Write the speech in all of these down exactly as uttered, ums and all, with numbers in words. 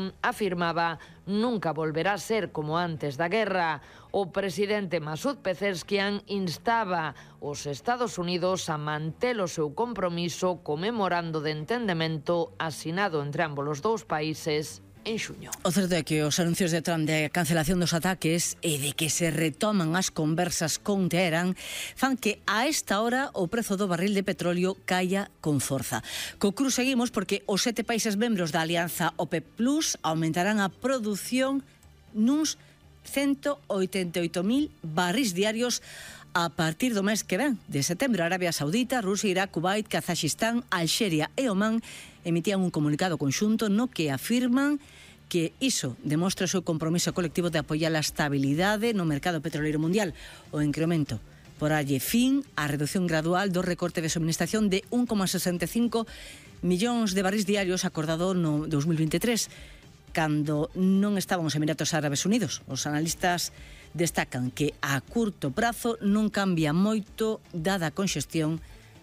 Erdogan afirmaba nunca volverá a ser como antes da guerra. O presidente Masud Pezeshkian instaba os Estados Unidos a manter o seu compromiso co memorando de entendemento asinado entre ambos os dous países en xuño. O certo é que os anuncios de Trump de cancelación dos ataques e de que se retoman as conversas con Teherán fan que a esta hora o prezo do barril de petróleo caia con forza. Co cruz seguimos porque os sete países membros da alianza OPEP Plus aumentarán a produción nuns ciento oitenta e oito mil barris diarios a partir do mes que ven. De setembro, Arabia Saudita, Rusia, Irak, Kuwait, Kazajistán, Alxeria e Omán emitían un comunicado conxunto no que afirman que iso demostra o seu compromiso colectivo de apoiar a estabilidade no mercado petroleiro mundial. O incremento poralle fin á reducción gradual do recorte de suministración de un coma sesenta e cinco millóns de barris diarios acordado no dos mil veintitrés, cando non estaban os Emiratos Árabes Unidos. Os analistas destacan que a curto prazo non cambia moito dada a conxestión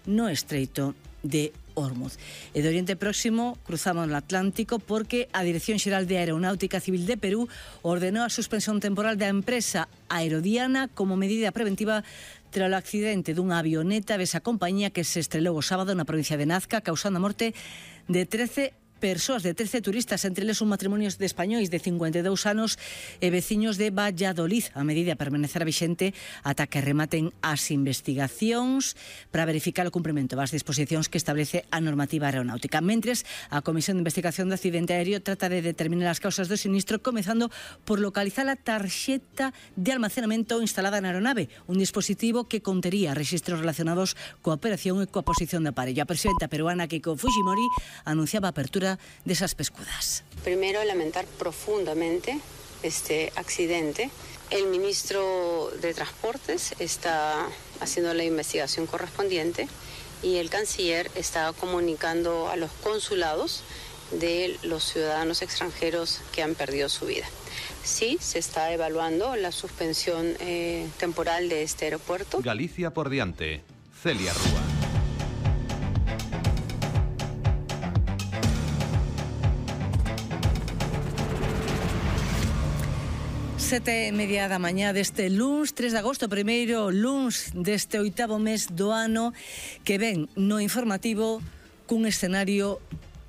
no estreito de Hormuz. E do Oriente Próximo cruzamos o Atlántico porque a Dirección Xeral de Aeronáutica Civil de Perú ordenou a suspensión temporal da empresa Aerodiana como medida preventiva tras o accidente dunha avioneta desa compañía que se estrelou o sábado na provincia de Nazca, causando a morte de trece persoas, de trece turistas, entre eles un matrimonio de españois de cincuenta e dous anos e veciños de Valladolid. A medida permanecerá vixente ata que rematen as investigacións para verificar o cumprimento das disposicións que establece a normativa aeronáutica. Mentres, a Comisión de Investigación do Accidente Aéreo trata de determinar as causas do sinistro, comezando por localizar a tarxeta de almacenamento instalada na aeronave, un dispositivo que contería registros relacionados coa operación e coa posición do aparello. A presidenta peruana Keiko Fujimori anunciaba a apertura de esas pescudas. Primero, lamentar profundamente este accidente. El ministro de Transportes está haciendo la investigación correspondiente y el canciller está comunicando a los consulados de los ciudadanos extranjeros que han perdido su vida. Sí, se está evaluando la suspensión eh, temporal de este aeropuerto. Galicia por diante. Celia Rúa. Sete e media da mañá deste luns tres de agosto, primeiro luns deste oitavo mes do ano, que ven no informativo cun escenario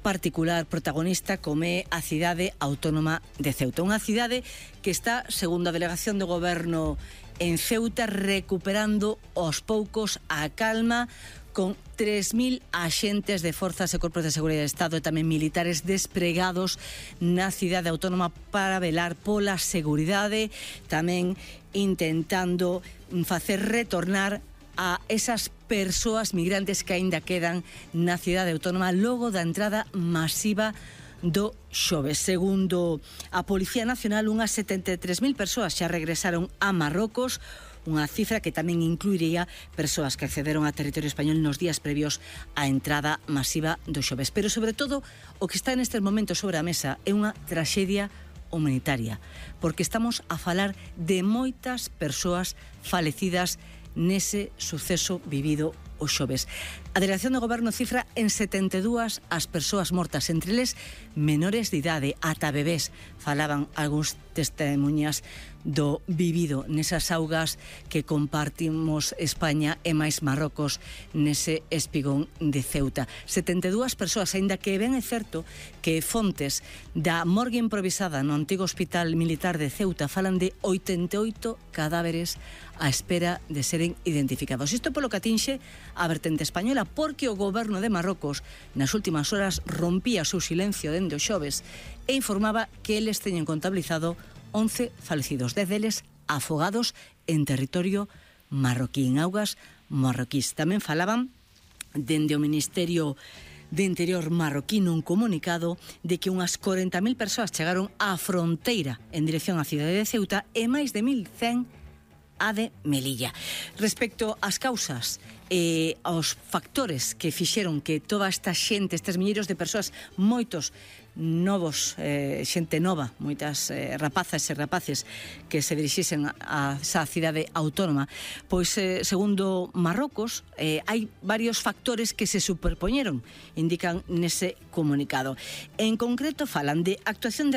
particular protagonista como é a cidade autónoma de Ceuta. Unha cidade que está, segundo a delegación do goberno en Ceuta, recuperando aos poucos a calma, con tres mil axentes de forzas e corpos de seguridade do Estado e tamén militares despregados na cidade autónoma para velar pola seguridade, tamén intentando facer retornar a esas persoas migrantes que aínda quedan na cidade autónoma logo da entrada masiva do xoves. Segundo a Policía Nacional, unhas setenta e tres mil persoas xa regresaron a Marrocos, unha cifra que tamén incluiría persoas que accederon a territorio español nos días previos á entrada masiva do xoves. Pero, sobre todo, o que está nestes momentos sobre a mesa é unha traxedia humanitaria, porque estamos a falar de moitas persoas falecidas nese suceso vivido o xoves. A Delegación do Goberno cifra en setenta e dúas as persoas mortas, entre eles menores de idade, ata bebés. Falaban algúns testemunhas do vivido nesas augas que compartimos España e máis Marrocos nese espigón de Ceuta. setenta e dúas persoas, aínda que ben é certo que fontes da morgue improvisada no antigo Hospital Militar de Ceuta falan de oitenta e oito cadáveres á espera de seren identificados. Isto polo que atinxe a vertente española, porque o goberno de Marrocos nas últimas horas rompía o seu silencio dende o xoves e informaba que eles teñen contabilizado once falecidos, dez deles afogados en territorio marroquí, en augas marroquís. Tamén falaban dende o Ministerio de Interior marroquí nun comunicado de que unhas corenta mil persoas chegaron á fronteira en dirección á cidade de Ceuta e máis de mil cen a de Melilla. Respecto ás causas e aos factores que fixeron que toda esta xente, estes milleiros de persoas, moitos novos, eh, xente nova, moitas eh, rapazas e rapaces que se dirixisen a esa cidade autónoma, pois, eh, segundo Marrocos, eh, hai varios factores que se superpoñeron, indican nese comunicado. En concreto, falan de actuación de